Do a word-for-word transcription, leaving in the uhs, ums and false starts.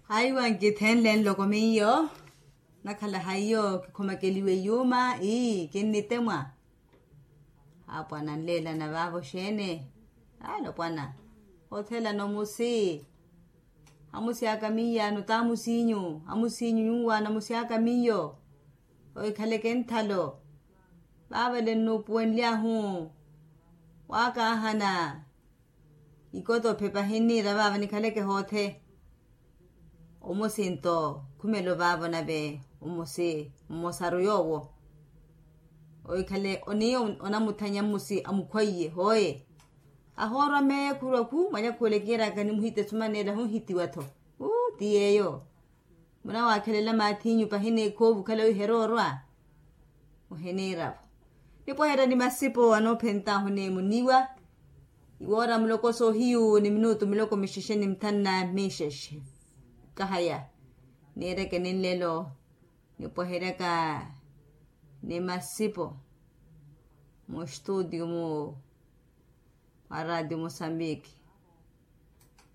Haiwa nkithenle nloko miyo. Nakhala haiyo kikhomakeliwe yuuma ii kinnitemwa. Apwana nleelana vaavo xeene? Alopwana, othelana omusi. Amusi aka miyaano t'amusinyu amusinyu nyuwaana amusi aka miyo. Oikhaleke nthalo. Vaavale nnuupuwenly'ahu. Waakaahana. Ikotophe pahinniira vaava nikhaleke hoothe. Omusi nto khumelo vaavo nave omusi mmosaru yoowo. Oikhale oniiyo onamuthanya mmusi amukhwaiye hooye. Ahoorwa meekhurwa khu mwanyakhuwele kiiraka nimuhite sumaneela hunhitiwa-tho. Uu ti yeeyo. Munawakhelela maathinyu pahina ekhoovu khalawi heroorwa. Muhiniira-vo. Nipweherya ni masipo anoophent'ahu ni muniwa. Iwoora muloko soohiyu ni minutu miloko mixexe ni mithanu na mixexe. Kahaya. Niireke ni nlelo. Nipweheryaka ni masipo. Mustutio mu mwa ratio musambiki.